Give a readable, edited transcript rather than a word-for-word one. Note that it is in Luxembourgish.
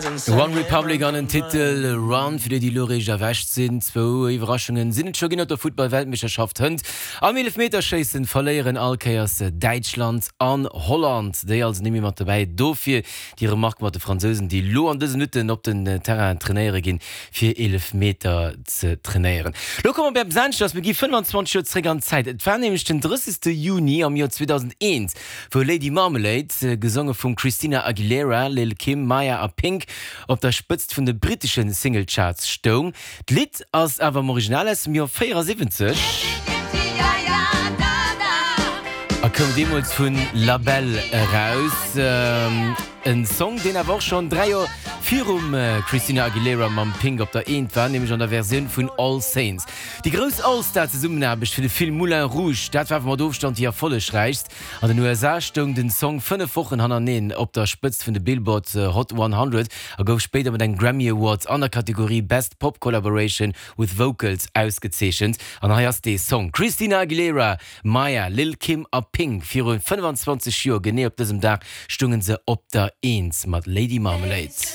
One Republic an den Titel Run, fir déi, déi elo réischt erwächt sinn. Zwou Iwwerraschungen sinn et scho ginn op der Futtball-Weltmeeschterschaft hënt. Am Eelefmeterschéissen verléieren all Kéiers Däitschland an Holland, déi also net méi mat dobäi. Dofir déi Remarque mat de Fransousen, déi elo an dëse Minutten op den Terrain trainéiere ginn, fir Eelefmeter ze trainéieren. Lo komme mer bei eppes aneschters, mir gi 25 Joer zeréck an d'Zäit. Et war nämlech den 30. Juni am Joer 2001, wou Lady Marmalade, gesonge vum Christina Aguilera, Lil' Kim, Mya a Pink, op der Spëtzt vun de brittesche Singlecharts stoung. D'Lidd ass awer am Original aus dem Joer 74 a koum deemools vu La Belle eraus. En Song, deen awer och schonn 3 Joer virum Christina Aguilera mam Pink op der Eent war, nämlech an der Versioun vun All Saints. Déi grouss All-Star-Zesummenaarbecht fir de Film Moulin Rouge, dat war awer mat Ofstand déi erfollegräichst. An den USA stoung den Song 5 Wochen hannerneeën op der Spëtzt vun de Billboard Hot 100 a gouf spéider mat engem Grammy Award an der Kategorie Best Pop Collaboration with Vocals ausgezeechent. An hei ass dee Song, Christina Aguilera, Mya, Lil' Kim a Pink. Viru 25 Joer genee op dësem Dag stounge se op der Eent mat Lady Marmalade.